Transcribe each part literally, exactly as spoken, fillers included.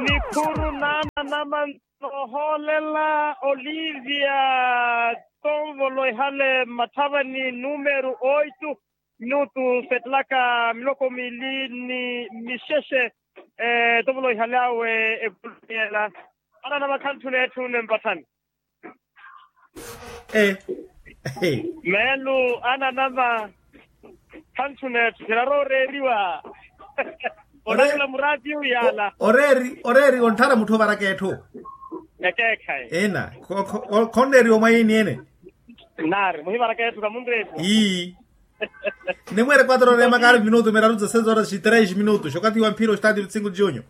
Nikhuru naana namanto ohoolela olivia tonvolo ehale mmathavani numeru oitu minutu setlaka miloko miili ni mixexe. Tonvolo ehale awe evoliyela ananama khantthuna etthu nempathani. Meelu ananama khantthuna etthu khirarowa oreeriwa. Oreeriwa muraatiyu yaala. Oreeri oreeri ontthara mutthu ovaraka etthu. Ekeekhayi ina khonneeriwa mwayiini ene. Naari muhivaraka etthu khamunreeriwa. Ii. Nimweere quatro ore makaari minutu miraru dza seis horas e três minutos okathi wa mphira ostadio vintsingu junyo.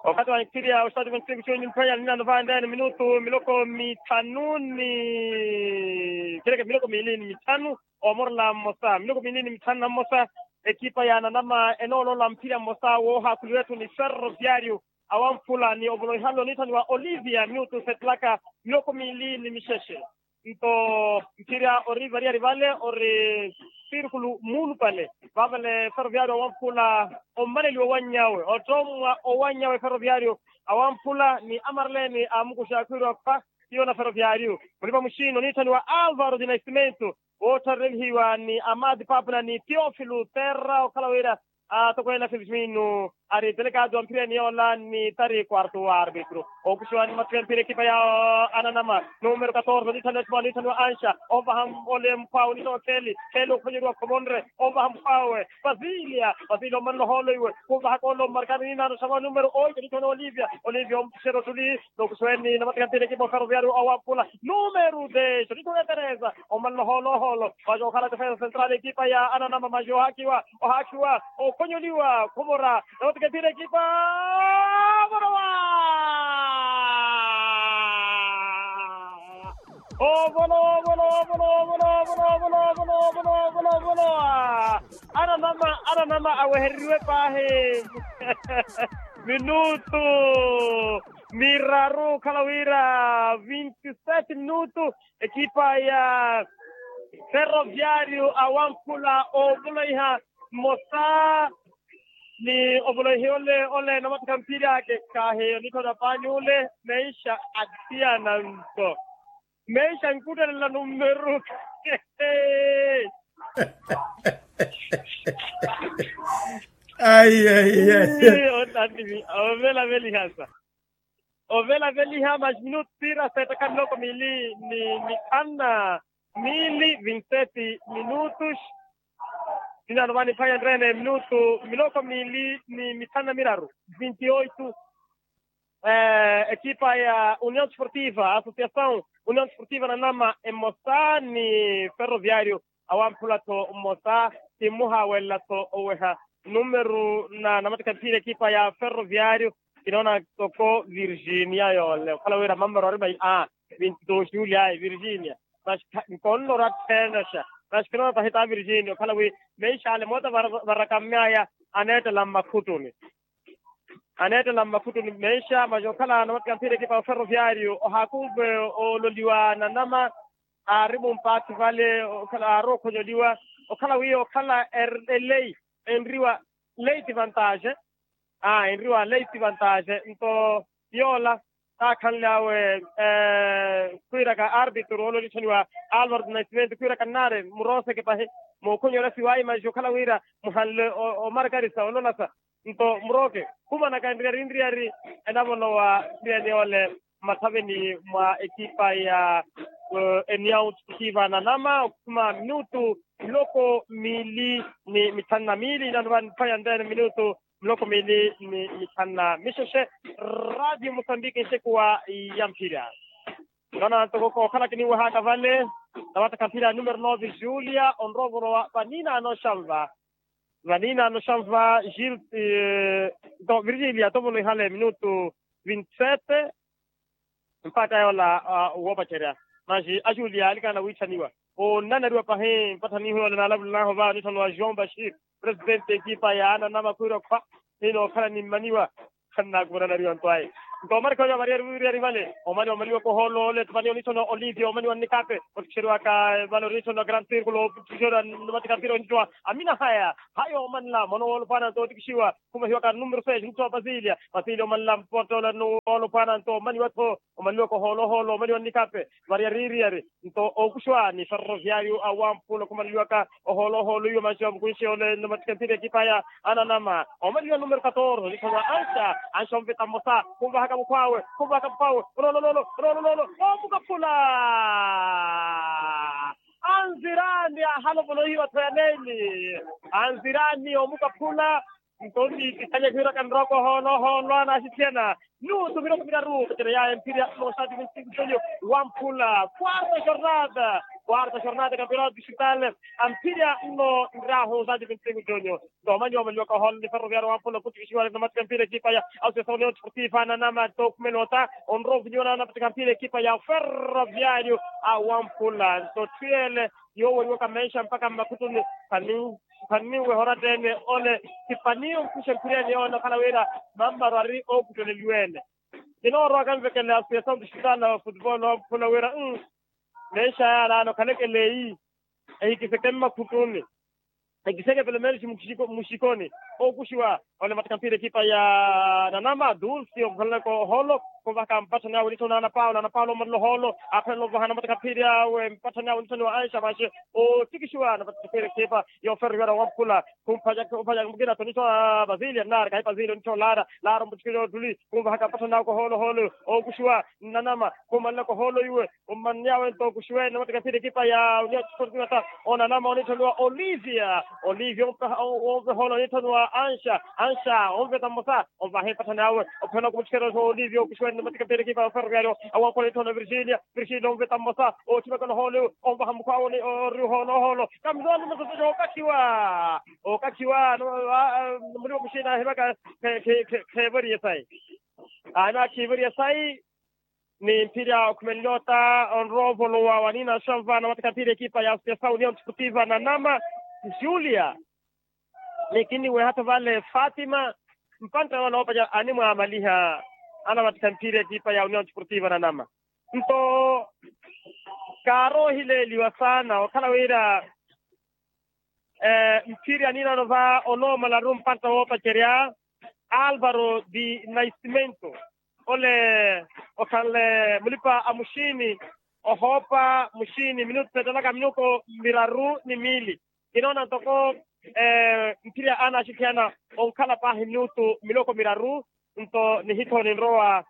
Okathi wa mphira ostadio vintsingu junyo mphwanya ninano vaandeene minutu miloko mithanu ni khileke miloko miili ni mithanu. Omorela mmosa miloko miili ni mithanu na mmosa. Ekipa ya ananama enooloola mphira mmosa woohaakhuliwa etthu ni ferroviario awamphula ni ovoloihalo niithaniwa olivia minutu setlaka miloko miili ni mixexe. Nto mphira ori variyari vale ori sirkulu muulupale. Vavale ferroviario awamphula ommaleliwa owanny'awe ottommwa owanny'awe ferroviario awamphula ni amareleeni amukuxa akhwiiriwa khwa. Tiyo na ferroviario mulipa muxino niithaniwa alvaro di nascimento woottharerelihiwa ni amadi papuna ni teofilo terra okhala wira atokweene a filipino ari telekaati wa mphireni yoola ni tari quarto wa arbitro. Okuxiwa ni mathuya mphira ekipa ya ananama numero katorze onithaniwa anxa ovaha ole mphwawu onithowa kheli kheli okhonyeriwa khuvonre ovaha mphwawe. Pasilia pasilia omanela ohoolo iwe khuvahaka ole omarkani ninaano xawa numero oito onithaniwa olivia olivia ompuxera ottuli. Nokuxiwa eni namatikantini ekipa oferoviario awaphula numero dez onithaniwa etereza omanela ohoolo ohoolo. Maxa okhala defensa central ekipa ya ananama maxa ohaakiwa ohaakiwa okhonyoliwa khuvora. Notiketira ekipa vorowa. Ovolowa ovolowa ovolowa ovolowa ovolowa ovolowa ovolowa ovolowa. Ananama ananama awehereriwe paahi minutu miraru okhala wira vinti sete minutu. Ekipa ya ferroviario awamphula ovoloiha mmosa ni ovoloiha ole ole namatikha mphiri ake. Kahi onithona paani ole meisha athiyananto meisha nkuttelela numeru. Ai ai ai. Ovelaveliha sa ovelaveliha mas minutu sira setakha miloko miili ni mithanu na miili vinti sete minutus. Ninano vani phaya nreene minutu miloko miili ni mithanu na miraru vinti oitu. Ekipa ya union sportiva associasaw union sportiva nanama emosa ni ferroviario awamphula-tho mmosa. Ti mmuhaawelela-tho oweha numeru na namatikha mphira ekipa ya ferroviario. Kinoona toko virginia yoole okhala wira mammara ori mai a vinti dos julia ayi virginia. Mas nkonno ora ttheenexa mas kinoona tahi ta virginia okhala wi meisha ale moota varakammyaya aneettela mmakhutuni. Aneettela mmakhutuni meisha mas okhala namatikha mphira ekipa ya ferroviario ohaakumve ololiwa nanama aari mumpaathi vale okhala aari okhonyoliwa okhala wi okhala elei enriwa leiti vantage. Aa enriwa leiti vantage nto yoola taakhanle awe khwiiraka arbitro ole onitthaniwa alvaro di nascimento khwiiraka nnaari murooseke pahi mookhonyolasi wayi mas okhala wira muhanle omarkarisa ololasa. Nto murooke khumanaka nriyari nriyari enavolowa nriyani ole mmathaveni mwa ekipa ya eniyawu ttikiva nanama okhuma minutu miloko miili ni mithanu na miili inano vani phaya nreene minutu miloko miili ni mithanu na mixexe. Radio mosambiki nxekuwa ya mphira. Nona ntoko kookhala kiniwehaka vale nawatakha mphira ya numero nove julia onrowa ovolowa vaninaano xanva. Vaninaano xanva gil virgilia tovoloihale minutu vinti sete. Mpatta yoola woopacerya mas ajulia alikana wiitthaniwa onanariwa pahi mpattha niihu yoola naalavulilanho va onitthaniwa joão bashir presidente ekipa ya ananama khwiira okhwa. Hinookhala nimmaniwa khannaakuva onanariwa nto ayi. Nto omarikha oyo avariyari wiriyari vale omani omaliwaka ohoolo ole tupaniya onitthona olivia omani wa nnikape, otikixeriwaka vale onitthona grand circulo otikixeriwa namatikapira onitthona. Amina haya haya omanla mono woolopwana nto otikixiwa. Khumahiwaka numero seis nitthona pasilia pasilia omanla mpottoola nowoolopwana nto omani wattho omaliwaka ohoolo ohoolo omani wa nnikape. Variyari wiriyari nto ookuxuwa ni ferroviario a wamphula okhumaleliwaka ohoolo ohoolo iwo manxiwa mukunxi ole namatikapira ekipa ya ananama. Omaleliwa numero katorze onitthoniwa anxa anxa onveta mmosa khunvahaka mukhw'awe khunvahaka mukhw'awe. Ololololo ololololo omukaphula. Anzirani ahalopola ohiwa tho ya neli. Anzirani omukaphula. Nto ntiitikhalye khiwiraka nrooko ohoolo ohoolo anaxithiyana. Minutu miroko miraru pacerya ya emphirya mosati vinti cinco junior wamphula quarta jornada. Quarta jornada campeonato distrital. Amphirya nno nrahu sati vinti cinco junior. Nto omanyiwa omaliwaka ohoolo ni ferroviario wamphula kutikixiwale namatika mpira ekipa ya associação union desportiva nanama nto okhumela ota onrowa ovinyiwa namatika mpira ekipa ya ferroviario a wamphula nto tthwiyele. Yooweriwaka menxa mpakha mmakhutuni. Khani khaniweha oratta-ene ole khipaniye ompusha mphiriyani yoole okhala wira mammaru ari ookutteleliwa-ene. Kinoorowa kanvekela associação distrital football wamphula wira menxa yaalaano khalekele eyi. Ehikiseke mmakhutuni. Ehikiseke pelo menos muxikoni. Ookuxiwa ole mattaka mphira ekipa ya nanama dulce onkhalelaka ohoolo. Khunvahaka mpatthani awe nitthoni ana paulo ana paulo omanle ohoolo. Aphela onvaha namattaka mphira awe mpatthani awe nitthoni wa anxa vaxe. Ootikixiwa namattaka mphira ekipa ya oferro iwara wamphula. Khumphayaka khumphayaka mukina tho nitthoni wa pasilia nnari kahi pasilia onitthoni lara. Lara omuttikile ottuli khunvahaka mpatthani awe kohoolo ohoolo. Ookuxiwa nnanama khumanlaka ohoolo iwe. Ommannyaawe nto okuxiwene namattaka mphira ekipa ya union desportiva ta onanama onitthoniwa olivia. Olivia ompeha onveha ole onitthoniwa anxa. Anxa onveta mmosa onvaha empatthanaawe. Ophela okumutthikela olivia okuxiwene namattaka mphira ekipa ya oferroviario. Awankhola onitthoniwa virginia. Virginia onveta mmosa ootthimekela ohoolo onvaha mukhwaawe ori ohoolo ohoolo. Kamisooni masoso yookakhiwa. Ookakhiwa. Muliwa muxina ahimaka kheevoriye sayi. Ahimaka khiivoriye sayi. Ni mphirya okhumelela ota onrowa ovolowa wanina axanva anamattaka mphira ekipa ya associação union desportiva nanama. Julia ni kinniweha-tho vale fatima. Mpantta yoola oopaca animwaamaliha anamattaka mphira ekipa ya union desportiva nanama. Nto kaaroohileeliwa saana okhala wira mphirya ninano va onoomalaru mpantta woopacerya. Alvaro di naiscimento ole okhanle mulipa a muxiini. Ohoopa muxiini minutu seetelaka minutu miraru ni miili. Kinoona ntoko mphirya anaxithiyana onkhala paahi minutu miloko miraru. Nto nihitho ninrowa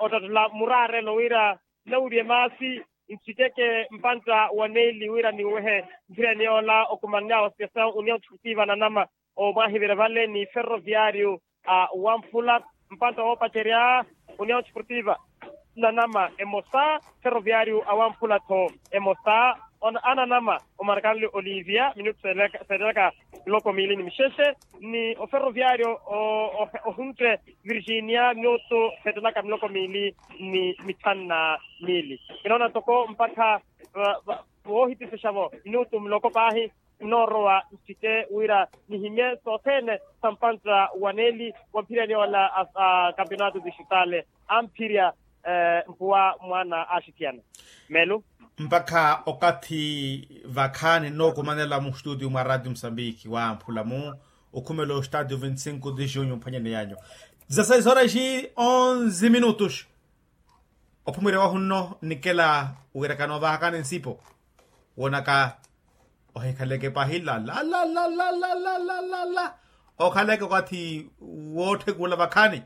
ottattela muraarelo wira nawiriye maasi. Nchikeke mpantta wa neeli wira niwehe mphirani yoola okumannyaawe associação union desportiva nanama. Omwaahivira vale ni ferroviario a wamphula mpantta woopacerya union desportiva nanama emosa. Ferroviario a wamphula-tho emosa. Ananama omarakanle olivia minutu seetelaka miloko miili ni mixexe ni oferroviario ohuntte virginia minutu seetelaka miloko miili ni mithanu na miili. Kinoona ntoko mpakha voohittisexavo minutu miloko paahi nnoorowa nttike wira nihimye sothene sa mpantta wa neeli wa mphirani yoola a campeonato distrital. Amphirya mpuwa mwaana aaxithiyana. Meelo mpakha okathi vakhaani nnookumanela muxtuutiyo mwa ratio musambiki wamphula-mu okhumela ostadio vinti cinco de junho mphwanyani yanyu. Dezasseis horas e onze minutos. Ophumwirya wahu nno nnikela wiirakana ovahakani nsipo woonaka ohikhaleke paahi lala. Okhaleke okathi wootthekula vakhaani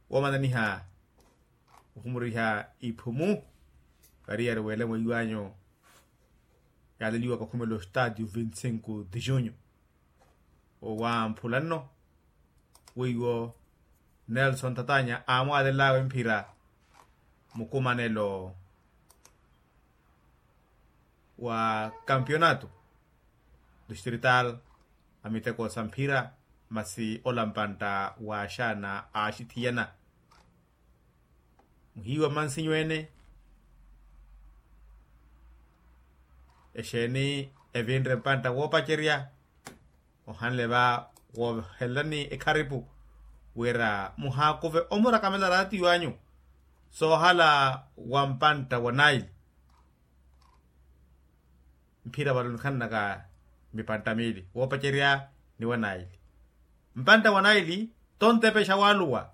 woomananiha ohumuriha iphumu. Variyari weela mwiiwanyu yaaleliwaka okhumela ostadio vinti cinco de junho. Owamphula nno weiwo nelson tatanya aamwaalelawe mphira mukumanelo wa campeonato distrital a miteko sa mphira masi ola mpantta waaxaana aaxithiyana. Muhiiwa mmansinyu ene exeeni evinre mpantta woopacerya ohanle va woohelelani ekharipu wira muhaakuve omurakamela raatiyo anyu soohala wa mpantta wa naili. Mphira vale onikhananaka mipantta miili woopacerya ni wa naili. Mpantta wa naili tontepexa waaluwa